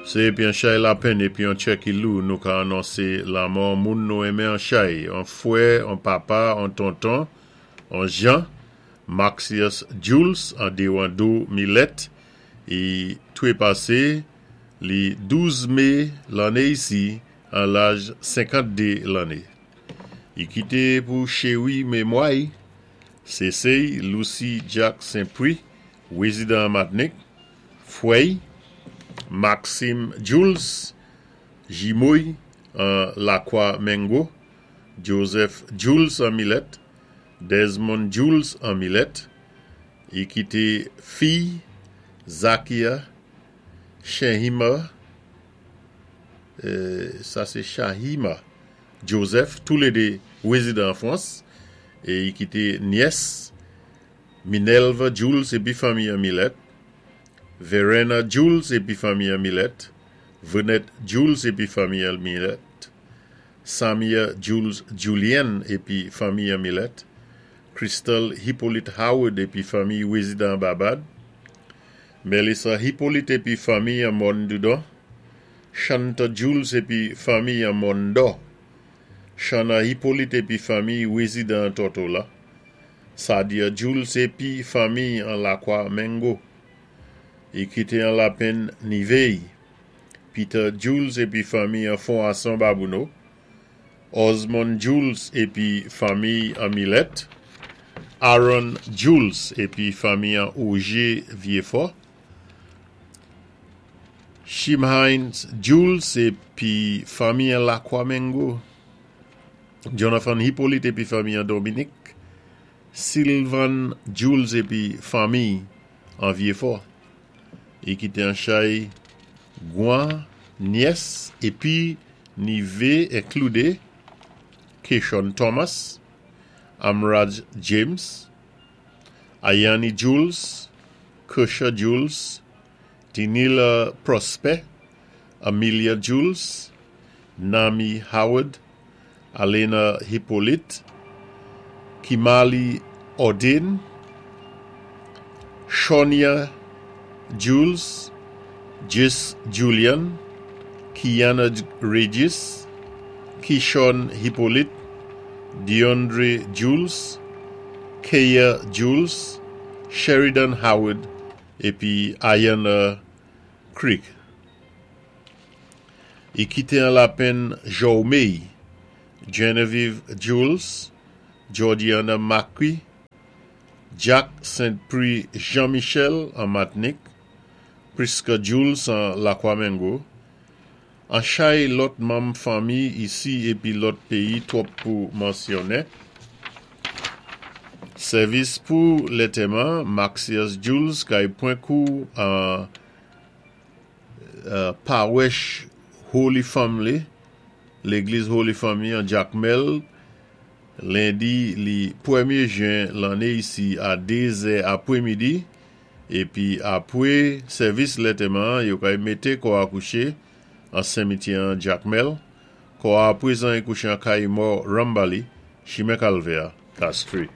Sé épi an chay lapenn épi an tchè ki lou nou ka anonsé lanmò an moun nou enmen an chay, an fwè, an papa, an tonton, an jan, Maxius Jules an Dewando Milèt i twépasé li 12 mé lanné isi an laj 52 lanné. I kité pou chéwi mémwa-y, sé sé-y Lucy Jack Saint-Prix, wézidan an Matnik, Fwè-y, Maxime Jules, jimo-y an Lakwa Mengo, Joseph Jules an Milèt, Desmond Jules an Milèt, i kité fiy Zakia Shehima, sa sé Shahima Joseph, toulédé wézidan an Fwans, é i kité nyès Minelva Jules épi fanmi an Milèt, Verena Jules épi fanmi an Milèt, Venette Jules épi fanmi an Milèt, Samia Jules Julien épi fanmi an Milèt, Crystal Hippolyte Howard épi fanmi wézidan an Babad, Melissa Hippolyte épi fanmi an Mòn Dudon, Shanta Jules épi fanmi an Mòn Dò, Shana Hippolyte épi fanmi wézidan an Tortola, Sadia Jules épi fanmi an Lakwa Mengo. I kité an lapenn nivé-y, Peter Jules épi fanmi an Fon Ason Babouno, Osmond Jules épi fanmi an Milèt, Aaron Jules épi fanmi an Ogé Vyéfò, Shimhines Jules épi fanmi an Lakwa Mengo, Jonathan Hippolyte épi fanmi an Dominik, Sylvan Jules épi fanmi an Vyéfò. I kité an chay gwan nyès épi nivé enkludé Keshon Thomas, Amraj James, Ayani Jules, Kersha Jules, Tinila Prosper, Amelia Jules, Nami Howard, Alena Hippolyte, Kimali Ordin, Shonia Jules, Jis Julian, Kiana Regis, Kishon Hippolyte, Deandre Jules, Kaya Jules, Sheridan Howard épi Ayana Creek. I kité an lapenn Jòwmey, Genevieve Jules, Georgiana Macqui, Jack Saint-Prix Jean-Michel an Matnik, Prisca Jules an Lakwa Mengo, an chay lòt manm fanmi isi épi lòt péyi twòp pou mansyonnen. Sèvis pou lètèman Maxius Jules kay pwan kou an Pawèch Holy Family, Légliz Holy Family an Jakmèl, lendi li pwèmyé jen lanné isi a 2 zè apwémidi, épi apwé sèvis lètèman an yo kay mété kò a kouché an senmityè an Jakmèl. Kò a apwézan i kouché an kay mò Rambali, chimen Kalvè a, Castries.